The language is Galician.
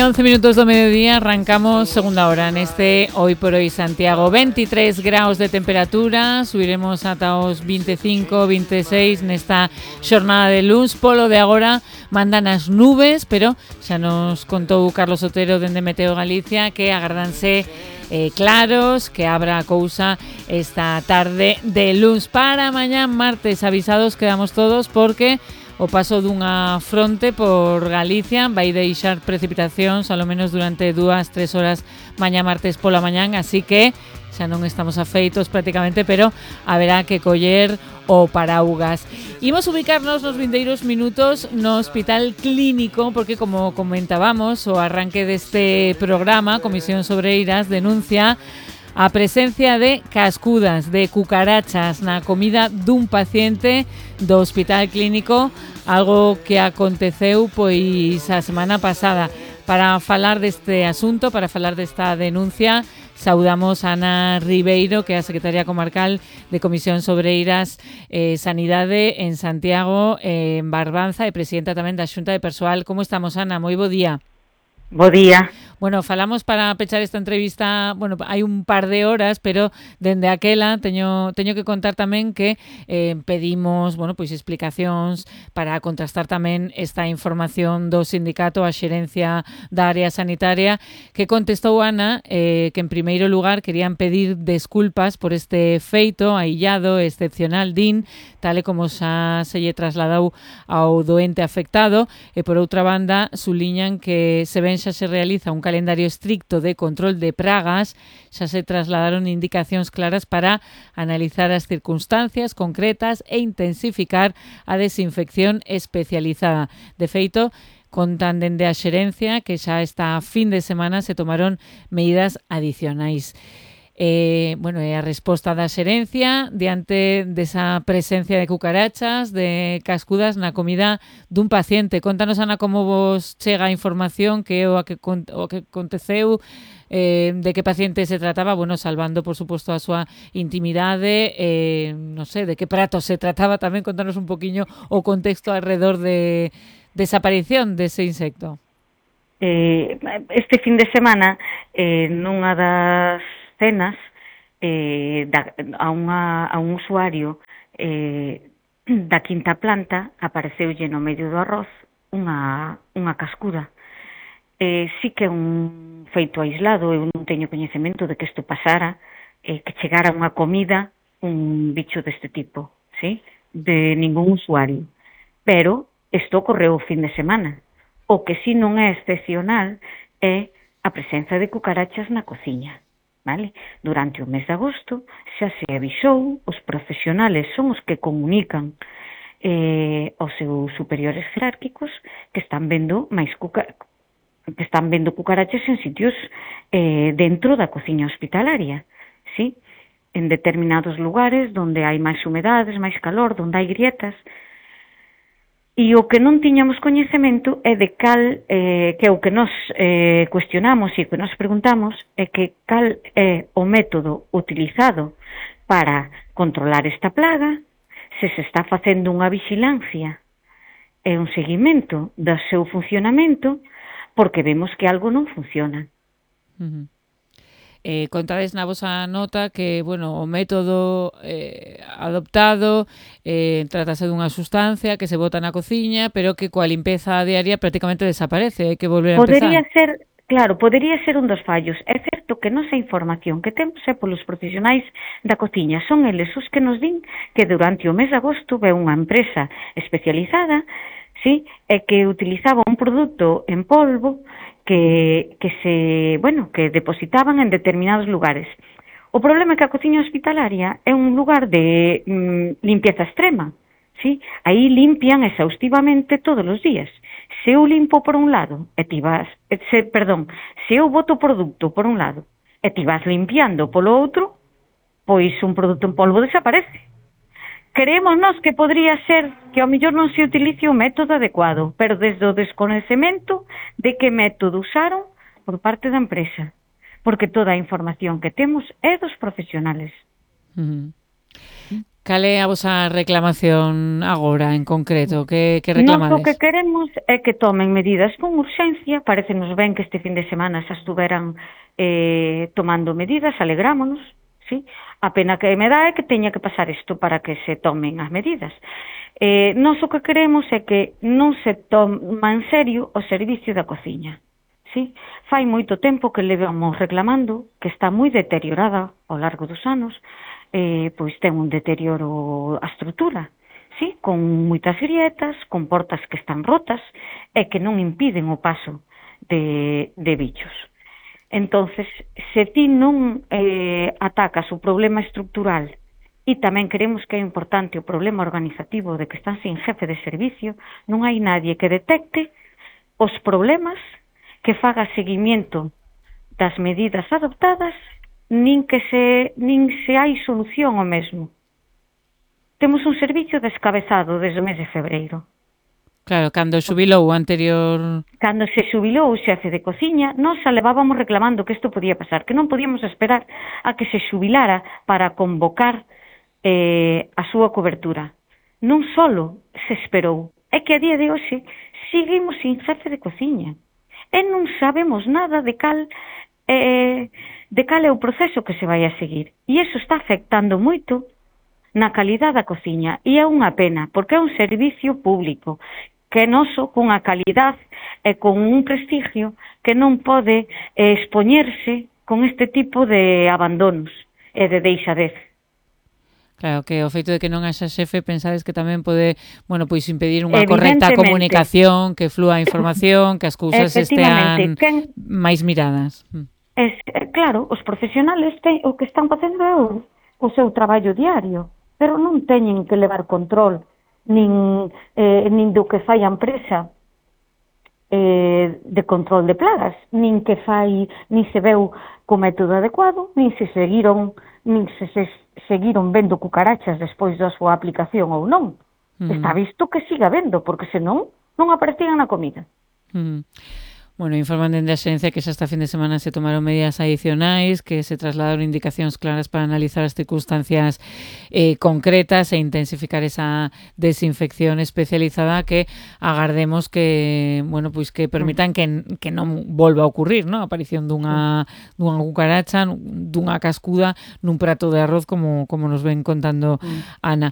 11 minutos do mediodía, arrancamos segunda hora neste Hoy por Hoy Santiago. 23 graus de temperatura, subiremos ata os 25, 26 nesta xornada de luns. Polo de agora mandan as nubes, pero xa nos contou Carlos Otero dende Meteo Galicia que agardanse claros, que abra a cousa esta tarde de luns. Para mañá martes avisados quedamos todos porque o paso dunha fronte por Galicia vai deixar precipitacións ao menos durante 2-3 horas mañá martes pola mañán, así que xa non estamos afeitos prácticamente, pero haberá que coller o paraugas. Imos ubicarnos nos vindeiros minutos no Hospital Clínico porque, como comentábamos, o arranque deste programa, Comisión Sobreiras denuncia a presencia de cascudas, de cucarachas na comida dun paciente do Hospital Clínico, algo que aconteceu pois a semana pasada. Para falar deste asunto, para falar desta denuncia, saudamos a Ana Ribeiro, que é a secretaria comarcal de Comisión Sobreiras Sanidade en Santiago, en Barbanza, e presidenta tamén da Xunta de Persoal. Como estamos, Ana? Moi bo día. Bo día. Bueno, falamos para pechar esta entrevista, bueno, hai un par de horas, pero dende aquela teño que contar tamén que pedimos, bueno, pois explicacións para contrastar tamén esta información do sindicato, a xerencia da área sanitaria, que contestou Ana que en primeiro lugar querían pedir desculpas por este feito aillado, excepcional, din, tal e como xa se lle trasladou ao doente afectado, e por outra banda suliñan que se ven xa se realiza un calendario estricto de control de pragas, xa se trasladaron indicacións claras para analizar as circunstancias concretas e intensificar a desinfección especializada. De feito, contan dende a xerencia que xa esta fin de semana se tomaron medidas adicionais. Bueno, é a resposta da xerencia diante desa presencia de cucarachas, de cascudas na comida dun paciente. Contanos, Ana, como vos chega a información, que é o que aconteceu, de que paciente se trataba, bueno, salvando, por suposto, a súa intimidade, non sei, de que prato se trataba tamén. Contanos un poquinho o contexto alrededor de desaparición dese insecto. Este fin de semana, nunha das cenas, a un usuario da quinta planta apareceulle no medio do arroz unha cascuda. Sí que é un feito aislado, eu non teño coñecemento de que isto pasara, que chegara unha comida un bicho deste tipo, ¿sí? De ningún usuario. Pero isto ocorreu o fin de semana. O que si non é excepcional é a presenza de cucarachas na cociña. Vale? Durante o mes de agosto xa se avisou, os profesionales son os que comunican aos seus superiores jerárquicos que están vendo cucarachas en sitios dentro da cociña hospitalaria, ¿sí? En determinados lugares onde hai máis humedades, máis calor, onde hai grietas. E o que non tiñamos coñecemento é de cal, que é o que nos cuestionamos e o que nos preguntamos, é que cal é o método utilizado para controlar esta plaga, se está facendo unha vigilancia e un seguimento do seu funcionamento, porque vemos que algo non funciona. Contades na vosa nota que, bueno, o método adoptado trátase dunha sustancia que se bota na cociña, pero que coa limpeza diaria prácticamente desaparece, hai que volver a empezar. Podería ser un dos fallos. É certo que nosa información que temos é polos profesionais da cociña. Son eles os que nos din que durante o mes de agosto ve unha empresa especializada, sí, e que utilizaba un produto en polvo que depositaban en determinados lugares. O problema é que a cociña hospitalaria é un lugar de limpieza extrema, ¿sí? Aí limpian exhaustivamente todos os días. Se eu limpo por un lado, se eu boto produto por un lado e ti vas limpiando polo outro, pois un produto en polvo desaparece. Creemos nós que podría ser que ao mellor non se utilice o método adecuado, pero desde o descoñecemento de que método usaron por parte da empresa, porque toda a información que temos é dos profesionales. Cal é a vosa reclamación agora, en concreto? Que Nós o reclamades? que queremos é que tomen medidas con urxencia. Parécenos ben que este fin de semana xa estuveran tomando medidas, alegrámonos, sí? A pena que me dá é que teña que pasar isto para que se tomen as medidas. Nós o que queremos é que non se toma en serio o servicio da cociña. Sí? Fai moito tempo que levamos reclamando que está moi deteriorada ao largo dos anos, pois ten un deterioro a estrutura, sí? Con moitas grietas, con portas que están rotas e que non impiden o paso de bichos. Entonces, se ti non atacas o problema estrutural e tamén queremos que é importante o problema organizativo de que están sin jefe de servicio, non hai nadie que detecte os problemas, que faga seguimiento das medidas adoptadas, nin se hai solución ao mesmo. Temos un servicio descabezado desde o mes de febreiro. Claro, cando xubilou o anterior... Cando se xubilou o xefe de cociña, nós xa levábamos reclamando que isto podía pasar, que non podíamos esperar a que se xubilara para convocar a súa cobertura. Non solo se esperou, é que a día de hoxe seguimos sin xefe de cociña. E non sabemos nada de cal é o proceso que se vai a seguir. E iso está afectando moito na calidade da cociña. E é unha pena, porque é un servicio público que é noso, cunha calidade e con un prestigio que non pode expoñerse con este tipo de abandonos e de deixadez. Claro, que o feito de que non haxa xefe pensades que tamén pode, bueno, pois impedir unha correcta comunicación, que flúa a información, que as cousas estean máis miradas. Claro, os profesionales o que están facendo é o seu traballo diario, pero non teñen que levar control nin do que fai a empresa de control de plagas, nin se veu co método adecuado, nin se seguiron vendo cucarachas despois da súa aplicación ou non. Está visto que siga vendo, porque senón non aparecían na comida. Bueno, informan dende a Xerencia que xa esta fin de semana se tomaron medidas adicionais, que se trasladaron indicacións claras para analizar as circunstancias concretas e intensificar esa desinfección especializada que agardemos que, bueno, pois que permitan que non volva a ocurrir, ¿no? A aparición dunha cucaracha, dunha cascuda nun prato de arroz como nos ven contando Ana.